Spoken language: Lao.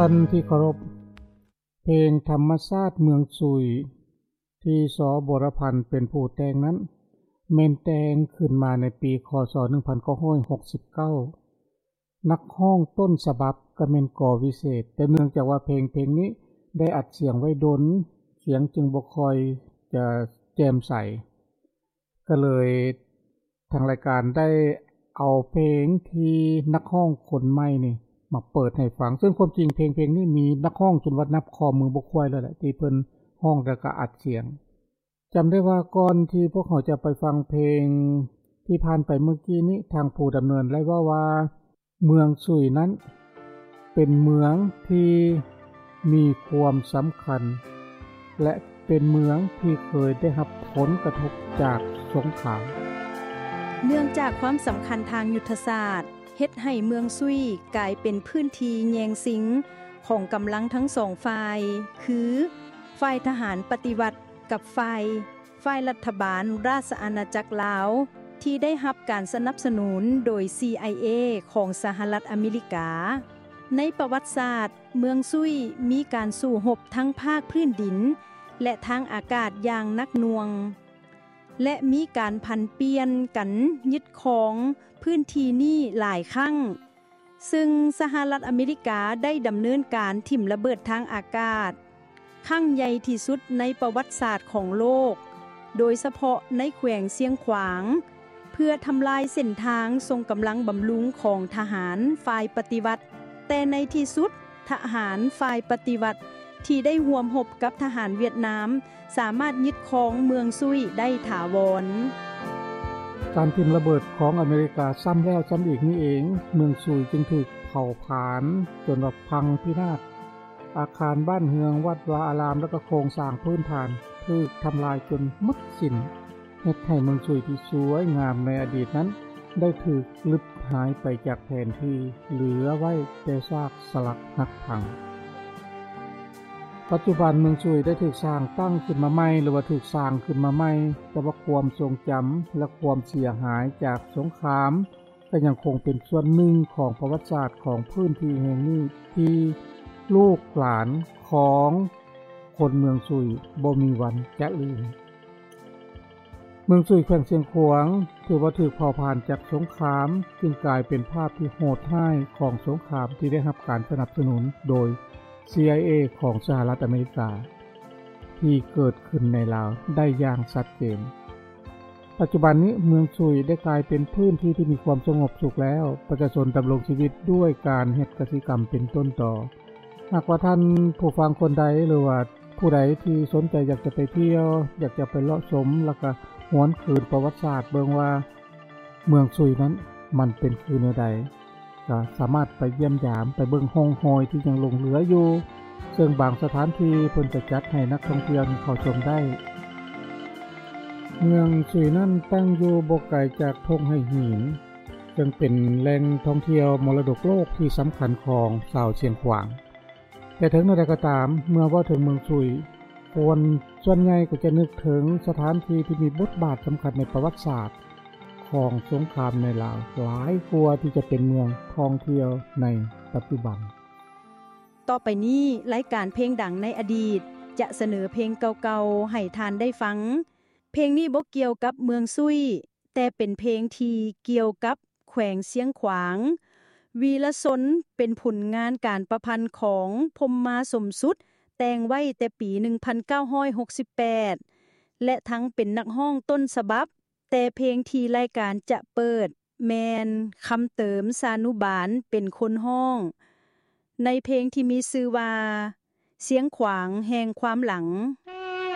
ທ່ານທີ່ເຄົາລົບ, ເພງທຳມະຊາດເມືອງຊຸຍ ທີ່ ສ. ບົວລະພັນ ເປັນຜູ້ແຕ່ງນັ້ນ ແມ່ນແຕ່ງຂຶ້ນມາໃນປີ ຄ.ສ. ໜຶ່ງພັນເກົ້າຮ້ອຍຫົກສິບເກົ້າ. ນັກຮ້ອງຕົ້ນສະບັບກໍແມ່ນ ກ. ວິເສດ, ແຕ່ເນື່ອງຈາກວ່າເພງ ເພງນີ້ໄດ້ອັດສຽງໄວ້ດົນ, ສຽງຈຶ່ງບໍ່ຄ່ອຍຈະແຈ່ມໃສ, ກໍເລີຍ ທາງລາຍການໄດ້ເອົາເພງທີ່ນັກຮ້ອງຄົນໃໝ່ນີ້ມາເປີດໃຫ້ຟັງ, ເຊິ່ງຄວາມຈິງເພງ ເພງນີ້ມີນັກຮ້ອງຈົນວ່ານັບຂໍ້ມືບໍ່ຄວາຍແລ້ວແຫຼະ ທີ່ເພິ່ນຮ້ອງແລ້ວກໍອັດສຽງ. ຈຳໄດ້ວ່າກ່ອນທີ່ພວກເຮົາຈະໄປຟັງເພງທີ່ຜ່ານໄປເມື່ອກີ້ນີ້, ທາງຜູ້ດຳເນີນໄດ້ເວົ້າວ່າ ເມືອງຊຸຍນັ້ນເປັນເມືອງທີ່ມີຄວາມສຳຄັນ ແລະ ເປັນເມືອງທີ່ເຄີຍໄດ້ຮັບຜົນກະທົບຈາກສົງຄາມ. ເນື່ອງຈາກຄວາມສຳຄັນທາງຍຸດທະສາດ ເຮັດໃຫ້ເມືອງຊຸຍກາຍເປັນພື້ນທີ່ແຍ່ງຊິງຂອງກຳລັງທັງສອງຝ່າຍ ຄື ຝ່າຍທະຫານປະຕິວັດກັບຝ່າຍ ຝ່າຍລັດຖະບານລາຊະອານາຈັກລາວ ທີ່ໄດ້ຮັບການສະໜັບສະໜູນໂດຍ ຊີໄອເອ ຂອງສະຫະລັດອາເມລິກາ. ໃນປະຫວັດສາດ, ເມືອງຊຸຍມີການສູ້ຮົບທັງພາກພື້ນດິນ ແລະ ທາງອາກາດຢ່າງໜັກໜ່ວງ ແລະ ມີການຜັນປ່ຽນກັນຍຶດຄອງພື້ນທີ່ນີ້ຫຼາຍຄັ້ງ, ຊຶ່ງສະຫະລັດອາເມລິກາໄດ້ດຳເນີນການຖິ້ມລະເບີດທາງອາກາດ ຄັ້ງໃຫຍ່ທີ່ສຸດໃນປະຫວັດສາດຂອງໂລກ, ໂດຍສະເພາະໃນແຂວງຊຽງຂວາງ, ເພື່ອທຳລາຍເສັ້ນທາງສົ່ງກຳລັງບຳລຸງຂອງທະຫານຝ່າຍປະຕິວັດ. ແຕ່ໃນທີ່ສຸດ, ທະຫານຝ່າຍປະຕິວັດທີ່ໄດ້ຮ່ວມຮົບກັບທະຫານຫວຽດນາມ ສາມາດຍຶດຄອງເມືອງຊຸຍໄດ້ຖາວອນ. ການຖິ້ມລະເບີດຂອງອາເມລິກາຊ້ຳແລ້ວຊ້ຳອີກນີ້ເອງ, ເມືອງຊຸຍຈຶ່ງຖືກເຜົາຜານຈົນວ່າພັງພິນາດ. ອາຄານບ້ານເຮືອນ, ວັດວາອາຣາມ ແລະ ກໍໂຄງສ້າງພື້ນຖານຖືກທຳລາຍຈົນໝົດສິ້ນ, ເຮັດໃຫ້ເມືອງຊຸຍທີ່ສວຍງາມໃນອະດີດນັ້ນໄດ້ຖືກລຶບຫາຍໄປຈາກແຜນທີ່, ເຫຼືອໄວ້ແຕ່ຊາກສະຫຼັກຫັກພັງ. ປັດຈຸບັນເມືອງຊຸຍໄດ້ຖືກສ້າງຕັ້ງຂຶ້ນມາໃໝ່ ຫຼືວ່າຖືກສ້າງຂຶ້ນມາໃໝ່, ແຕ່ວ່າຄວາມຊົງຈຳ ແລະ ຄວາມເສຍຫາຍຈາກສົງຄາມ ກໍຍັງຄົງເປັນສ່ວນໜຶ່ງຂອງປະຫວັດສາດຂອງພື້ນທີ່ແຫ່ງນີ້ ທີ່ລູກຫຼານຂອງຄົນເມືອງຊຸຍບໍ່ມີວັນຈະລືມ. ເມືອງຊຸຍ ແຂວງຊຽງຂວາງ ຖືວ່າຖືກເຜົາຜານຈາກສົງຄາມ, ຈຶ່ງກາຍເປັນພາບທີ່ໂຫດຮ້າຍຂອງສົງຄາມທີ່ໄດ້ຮັບການສະໜັບສະໜູນໂດຍ ຊີໄອເອ ຂອງສະຫະລັດອາເມລິກາ ທີ່ເກີດຂຶ້ນໃນລາວໄດ້ຢ່າງຊັດເຈນ. ປັດຈຸບັນນີ້ເມືອງຊຸຍໄດ້ກາຍເປັນພື້ນທີ່ທີ່ມີຄວາມສະຫງົບສຸກແລ້ວ, ປະຊາຊົນດຳລົງຊີວິດດ້ວຍການເຮັດກະສິກຳເປັນຕົ້ນຕໍ. ຫາກວ່າທ່ານຜູ້ຟັງຄົນໃດ ຫຼືວ່າຜູ້ໃດທີ່ສົນໃຈຢາກຈະໄປທ່ຽວ, ຢາກຈະໄປເລາະຊົມ ແລ້ວກະຫວນຄືນປະຫວັດສາດເບິ່ງວ່າເມືອງຊຸຍນັ້ນມັນເປັນຄືແນວໃດ, ກໍສາມາດໄປຢ້ຽມຢາມ, ໄປເບິ່ງຮ່ອງຮອຍທີ່ຍັງຫຼົງເຫຼືອຢູ່, ເຊິ່ງບາງສະຖານທີ່ເພິ່ນຈະຈັດໃຫ້ນັກທ່ອງທ່ຽວນີ້ເຂົ້າຊົມໄດ້. ເມືອງຊຸຍນັ້ນຕັ້ງຢູ່ບໍ່ໄກຈາກທົ່ງໄຫຫີນ, ເຊິ່ງເປັນແຫຼ່ງທ່ອງທ່ຽວມໍລະດົກໂລກທີ່ສຳຄັນຂອງຊາວຊຽງຂວາງ. ແຕ່ເຖິງແນວໃດກໍຕາມ, ເມື່ອເວົ້າເຖິງເມືອງຊຸຍ, ຄົນສ່ວນໃຫຍ່ກໍຈະນຶກເຖິງສະຖານທີ່ທີ່ມີບົດບາດສຳຄັນໃນປະຫວັດສາດຂອງສົງຄາມໃນລາວ ຫຼາຍກວ່າທີ່ຈະເປັນເມືອງທ່ອງທ່ຽວໃນປັດຈຸບັນ. ຕໍ່ໄປນີ້, ລາຍການເພງດັງໃນອະດີດຈະສະເໜີເພງເກົ່າໆໃຫ້ທ່ານໄດ້ຟັງ. ເພງນີ້ບໍ່ກ່ຽວກັບເມືອງຊຸຍ, ແຕ່ເປັນເພງທີ່ກ່ຽວກັບແຂວງຊຽງຂວາງ. ວີລະຊົນ ເປັນຜົນງານການປະພັນຂອງ ພົມມາ ສົມສຸດ, ແຕ່ງໄວ້ແຕ່ປີໜຶ່ງພັນເກົ້າຮ້ອຍຫົກສິບແປດ ແລະ ທັງເປັນນັກຮ້ອງຕົ້ນສະບັບ, ແຕ່ເພງທີ່ລາຍການຈະເປີດແມ່ນ ຄຳເຕີມ ຊານຸບານ ເປັນຄົນຮ້ອງ, ໃນເພງທີ່ມີຊື່ວ່າ ຊຽງຂວາງແຫ່ງຄວາມຫຼັງ.